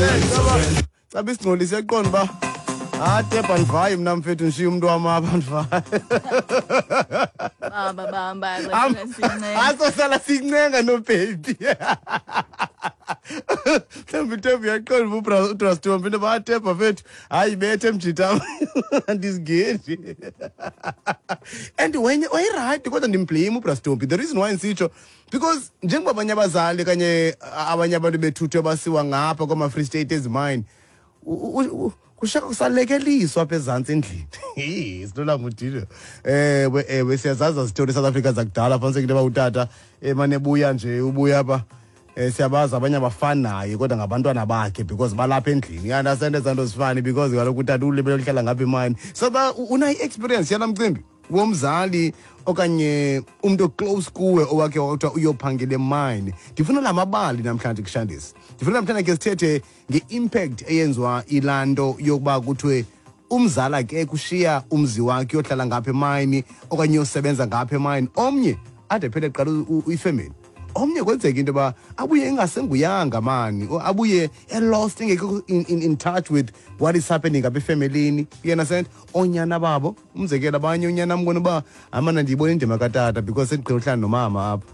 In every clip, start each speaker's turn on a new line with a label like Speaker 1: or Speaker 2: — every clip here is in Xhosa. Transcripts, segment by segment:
Speaker 1: understand? Caba isingcolise yaqonda uba atebha ndivayi mna mfethu, ndishiye umntu wam apha, ndivayi.
Speaker 2: Bamba bamba sincenga.
Speaker 1: Asosala sincenga nobhebi. Mhlawumbi itebha uyaqonda uba udrastombi into yoba atebha fethu, hayi bethe mjita, andizingeni. And wenye wayirayithi, kodwa ndimblame ubrastombi. The reason why ndisitsho, because njengoba abanye abazali kanye abanye abantu bethuthu basiwa ngapha kwama-Free State ezimayini, kushaka kusalekeliswa apha ezantsi endlini. Silula ngudilo. Ewe, ewe, siyazazi zitori South Africa zakudala. Fanise into yoba utata emane ebuya nje, ubuya apha, siyabazi abanye abafani naye, kodwa ngabantwana bakhe because balapha endlini. You understand ezaa nto zifani, because kaloku utata ulibele uhlala ngapha imani. So ba unayo i-experience yala mcimbi womzali okanye umntu oclose kuwe owakhe wakuthiwa uyophangela emine? Ndifuna la mabali namhlanje kushandisi. Ndifuna namhlanje ke sithethe nge-impact eyenziwa ilaa nto yokuba kuthiwe umzala ke kushiya umzi wakhe uyohlala ngapha emayini okanye uyosebenza ngapha emayini. Omnye ade phele eqala ifemeli, omnye kwenzeka into yoba abuye engasenguyanga mani, abuye elost, engekho in touch with what is happening apha efemelini. You understand? Oonyana babo, umzekelo, abanye unyana mbona uba amana ndiyibona indima katata because sendigqibela uhlala nomama apha.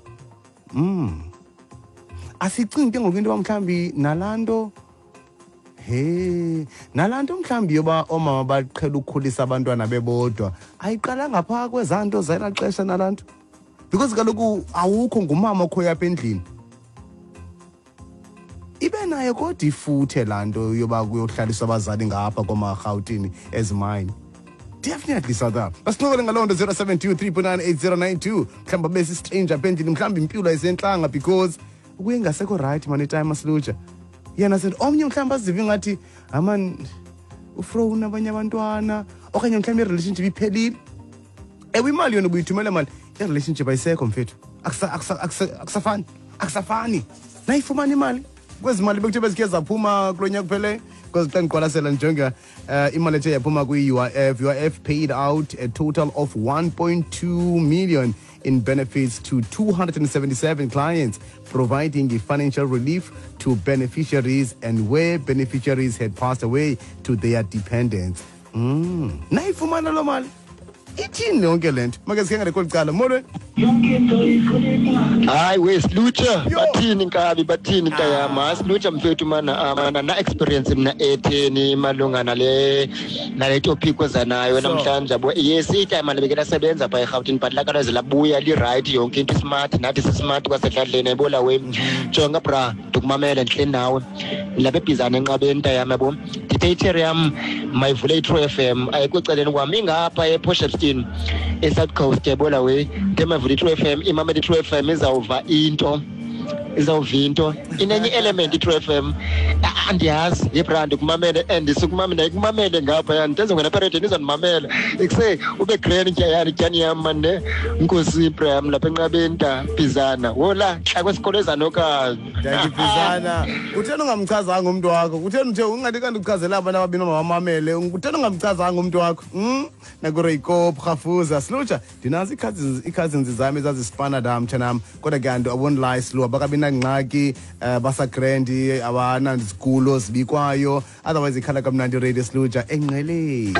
Speaker 1: Asicingi ke ngoku into yoba mhlawumbi nalaa nto, he, nalaa nto mhlawumbi yoba oomama baqhela ukukhulisa abantwana bebodwa ayiqalanga phaa kwezaa nto zelaa xesha nalaa nto, because kaloku awukho, ngumama okhoyo apha endlini. Ibe nayo kodwa ifuthe laa nto yoba kuyohlaliswa abazali ngapha komarhawutini ezimayini. Definitely, South. Basincokole ngaloo nto, 072 3.98092. Mhlawumbi abe sistranger apha endlini, mhlawumbi impilo ayisentlanga because ukuye ngasekho right man itime asilutsha yena said. Omnye mhlawumbi azive ingathi aman ufrowna abanye abantwana, okanye mhlawumbi irelationship iphelile. Ewe, imali yona ubuyithumela mani, irelationship ayisekho mfethu. Akusafani, akusafani. Nayifumana imali kwezi mali bekuthiwe bezikhe zaphuma kulo nyaka kupheleyo, because xa ndiqwalasela ndijonga imali ethe yaphuma kwi-UIF, UIF paid out a total of 1.2 million in benefits to 277 clients, providing a financial relief to beneficiaries and, where beneficiaries had passed away, to their dependents. Nayifumana loo mali, ithini yonke le nto? Make sikhengele kweli cala. Molweni.
Speaker 3: Hayi we silutsha.
Speaker 1: Yo.
Speaker 3: Bathini nkabi, bathini ntayam? Hayi silutsha mfethu mana, mana na experience mna etheni malunga nale topic oza nayo namhlanje, yabo. Yes, itime beke lasebenza phaa eRhawutini, but lakalaze labuya li-right, yonke into smart, nathi sismart kwasedladleni, yayibona we. Jonga bra, ndikumamele, ndihleli nawe lapha eBhizana enqabeni ntayam, yabo. Ndithe itheri yam mayivule i-True FM, ayikho ecaleni kwam, ingapha ePort Shepstone, eSouth Coast, yayibona we. Ndithe mayivule i-True FM, imamele i-True FM, izawuva into, izawuva into inenye i-element i-True FM. Andiyazi yebra, ndikumamele and sikumamele, ndikumamele ngapha yani, ndizongena apha eredini, izondimamela ikuse ube grand tyayani tyani yam mane. Nkosi bram lapha enqabeni ta Bizana wola xa kwesikolo ezanokanye.
Speaker 1: Ndiyakibhizana. Kutheni ungamchazanga umntu wakho? Kutheni uthe ungathi kanti uchazela abantu ababini mabamamele? Kutheni ungamchazanga umntu wakho? Nakureyikop rhafuza silutsha, ndinazo ii-cousins zam ezazisipana da mtshanam, kodwa ke anto I won't lie, silu abakabi nangxaki, basagrandi, abanazigulo zibikwayo. Otherwise ikhala kamnandi radio silutsha engqeleni.